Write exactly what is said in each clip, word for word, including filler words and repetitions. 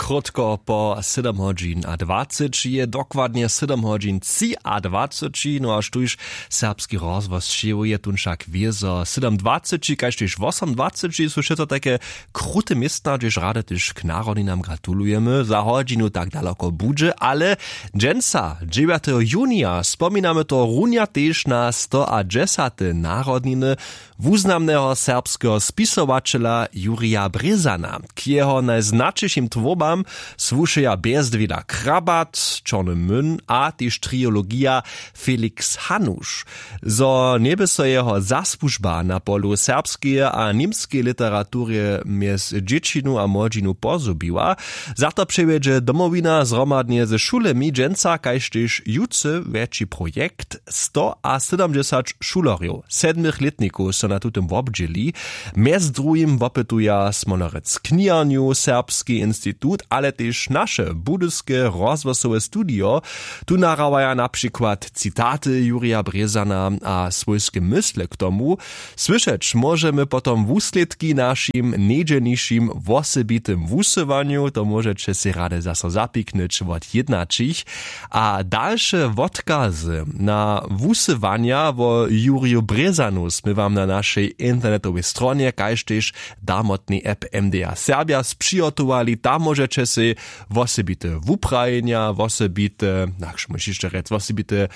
Krótko po sydom hodźin a dwaceći je dokładnje sydom hodźin tři a dwaceći, no a štóž serbski rozhłos čěłuje tón wšak wězo sydom dwaceći kaž tež wosom dwaceći su wšitko tajke krute městna hdźež rady tež k narodninam gratulujemy za hodźinu tak daloko budźe ale dźensa dźewjateho junija spominamy to runja tež na stoadźesate narodniny wuznamneho serbskeho spisowaćela jurija brězana. K jeho najznaćišim twórbam słušeja bjezdwěda krabat čorny myn a tež triologija felix hanuš. Zo njeby so jeho zasłužba na polu serbskeje a němskeje literaturje mjez dźěćinu a młodźinu pozhubiła, za to přewjedźe domowina zhromadnje ze šulemi dźensa kaž tež jutře wjetši projekt. Stoasydomdźesać šulerjow sedmych lětnikow so na tutym wobdźěli. Mjez druhim wopytuja smolerec kniharnju serbski institut ale tež naše budyske rozhłosowe studio. Tu nahrawaja na přikład citaty jurija brězana a swójske mysle k tomu. Słyšeć móžemy potom wuslědki našim njedźelnišim wosebitym wusyłanju to móžeće sej rady zaso zapiknyć wot jědnaćich. A dalše wotkazy na wusyłanja wo juriju brězanu smy wam na našej internetowej stronje kaž tež damotnej app mda serbja spřihotowali tam móžeće sej wosebite wuprajenja wosebite nakž móžeš hišće rjec wosebite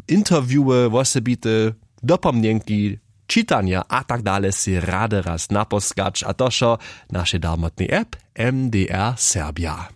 interviewy wosebite dopomnjenki čitanja a tak dale sej rady raz naposkać a to wšo w našej damotnej app mdr serbja.